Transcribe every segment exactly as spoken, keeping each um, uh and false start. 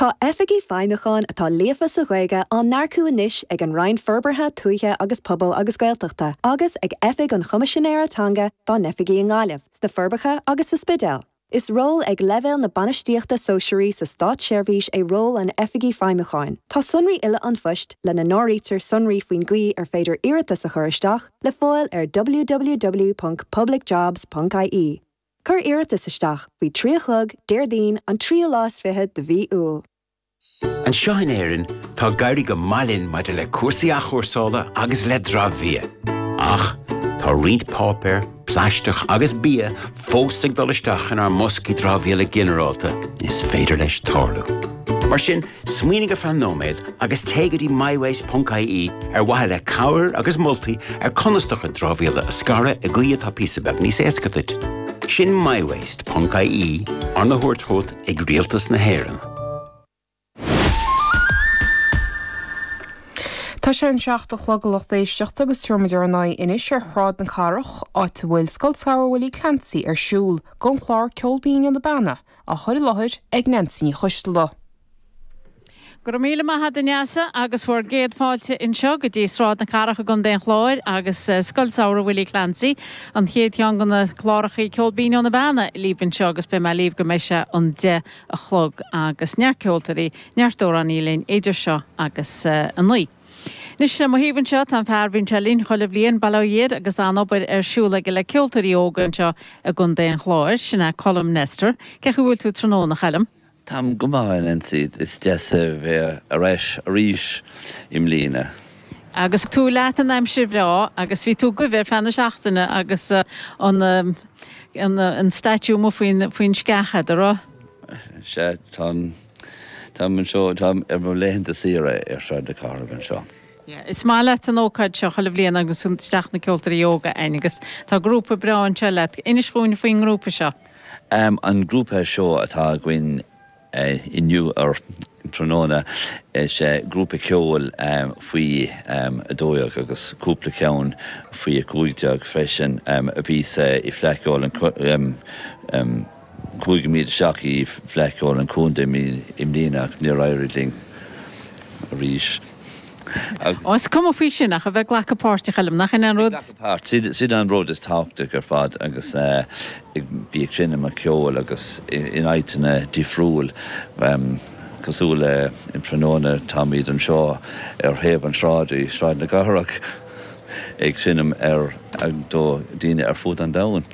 Tá oifigigh feidhmiúcháin atá líofa sa Ghaeilge á n-earcú anois ag an Roinn Forbartha Tuaithe agus Pobail agus Gaeltachta, agus ag Oifig an Choimisinéara Teanga dá n-oifigí i nGaillimh, sna Forbacha agus sa Spidéal. Is ról ag leibhéal na bainistíochta sóisearaí sa státseirbhís é ról an oifigigh feidhmiúcháin. Tá sonraí uile an phoist lena n-áirítear sonraí faoin gcaoi ar féidir iarratas a chur isteach le fáil ar www.publicjobs.ie. Cuir iarratas isteach faoi trí a chlog Déardaoin an tríú lá is fiche de mhí Iúil. Anseo in Éirinn tá ag éirí go maith linn maidir le cúrsaí athchúrsála agus le dramhbhia. Ach tá roinnt páipéar, plaisteach agus bia fós ag dul isteach inár mboscaí dramhaíola ginearálta is féidir leis tarlú. Mar sin, smaoinigh ar feadh nóiméad agus téigh go dtí mywaste.ie ar mhaithe le cabhair agus moltaí ar conas do chuid dramhaíola a scaradh i gcaoi atá píosa beag níos éasca duit. Sin mywaste.ie arna thabhairt chugat ag Rialtas na hÉireann. Tá sé an seacht a chlog a lucht éisteachta agus tabharfaimid ár n-aghaidh anois ar Shráid na Cathrach, áit a bhfuil Scoil Samhraidh Willie Clancy ar siúl, don chlár Ceol Binn ó na Beanna, á chur i láthair ag Nancy Ní Choisteala. Go raibh míle maith agat a Neasa agus bhur gcéad fáilte anseo go dtí Sráid na Cathrach i gContae an Chláir agus Scoil Samhraidh Willie Clancy, an chéad cheann de na cláracha Ceol Binn ó na Beanna libh anseo agus beidh mé libh go mbeidh sé an deich a chlog agus neart ceoltóirí, neart amhránaí linn idir seo agus a naoi. Anois mo thaobh anseo tá an fear a bhíonn sé linn chuile bhliain bail ó Dhia air agus an-obair ar siúl aige le ceoltóirí óga anseo i gContae an Chláir, sin é Colm Nestor. Cén chaoi a bhfuil tú tráthnóna, a Choilm? Táim go maith, a Nancy. Is deas a bheith ar ais arís i mbliana. Agus tú leat an aimsir bhreá agus bhí tú agaibh ar feadh na seachtaine agus an an an statue amuigh faoin faoin sceach agat, an raibh? Sea, táim táim anseo, táim ar mo laethanta saoire ar Shráid na Cathrach anseo. Yeah, is maith leat an ócáid seo chuile bhliain agus isteach na ceoltóirí óga againn agus tá grúpa breá anseo leat. Inis dhúinn faoin ngrúpa seo. Um, an grúpa seo atá againn uh, inniu ar tráthnóna is uh, grúpa ceoil um, faoi um, a dó dhéag agus cúpla ceann faoi a cúig déag freisin um, a bhí sa i Fleadh Cheoil an um, um, chuaigh muid isteach i Fleadh Cheoil an Chontae i mbliana ach níor éirigh linn arís. Ó is cuma faoi sin ach a bheith ag glacadh páirt a Choilm, nach in an rud? Páirt sin an rud is tábhachtaí ar fad agus bí ag seinm ceoil agus in áiteanna difriúil cosúil le in tráthnóna táimid anseo ar thaobh an sráid i Sráid na Cathrach ag seinm ar do daoine ar fud an domhain.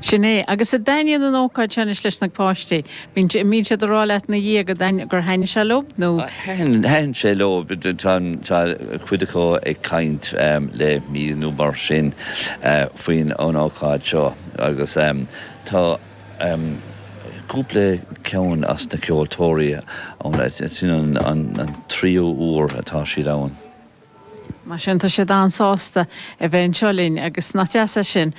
Sin é, agus an dtaitníonn an ócáid sin leis na páistí. Bíonn siad ag rá leat ina dhiaidh gur thaitin sé leo nó? Thaitin sé leo tá cuid acu ag caint le mí nó mar sin faoin an ócáid seo agus tá cúpla ceann as na ceoltóirí sin an tríú huair atá siad ann. Mar sin tá siad an-sásta a bheith anseo linn agus nach deas é sin.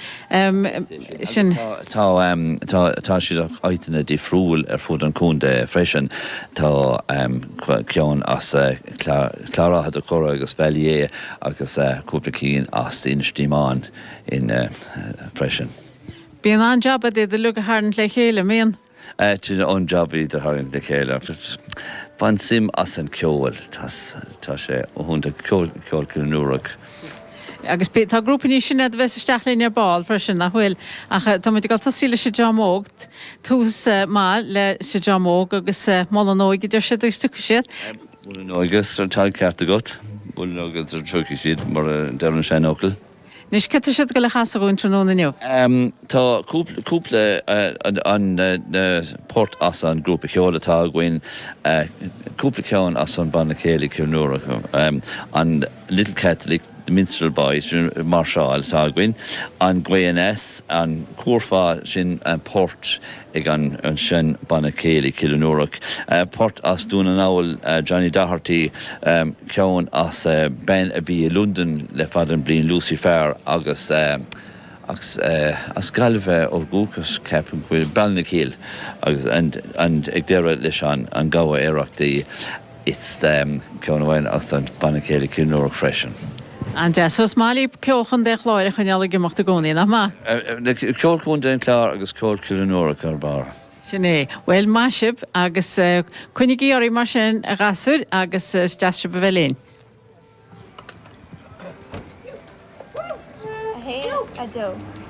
Sin Tá tá siad áiteanna difriúil ar fud an chontae freisin tá ceann as Clár Átha Cora agus Ballyea agus cúpla cinn as Inis Díomáin in freisin. Bíonn an-jab iad uilig a tharraingt le chéile, mbíonn? An job iad a tharraingt le chéile. Bain suim as an ceol tá sé iontach ceol ceol Agus tá grúpa níos sine a bheas isteach linn ar ball freisin nach bhfuil ach tá muid ag dul tosaí leis an dream óg tús maith leis an dream óg agus mol an óige deir siad agus tiocfaidh siad. Mol an óige tá ceart agat, mol an óige tiocfaidh siad mar a deir an seanfhocal. Anois cad tá siad ag dul a chasadh dhúinn tráthnóna inniu? Tá cúpla an port as an grúpa ceoil atá againn, cúpla ceann as an banna céilí Cill Nua, an Little Catholic, the Minstrel Boys, máirseáil atá againn, an Gaoth an Cúrfá sin port ag an sin banna céilí Cill Nua, port as Dún na nGall Johnny Doherty, ceann as bean a bhí i London le fada an bliain Lucy Farr agus agus as Gaillimh ó dhúchas ceapaim go bhfuil Ballinakill agus an ag deireadh leis an an gabha aerachtaí it's ceann amháin as an banna céilí Cill Nua freisin. An-deas. So is maith libh ceol Chontae an Chláir a choinneáil ag imeacht i gcónaí, nach maith? Ceol Chontae an Chláir agus ceol Chill Nua ar barr. Sin é. Bhuel, maith sibh agus coinnígí oraibh mar sin, a ghasúir, agus is deas sibh a bheith linn. A haon, a dó.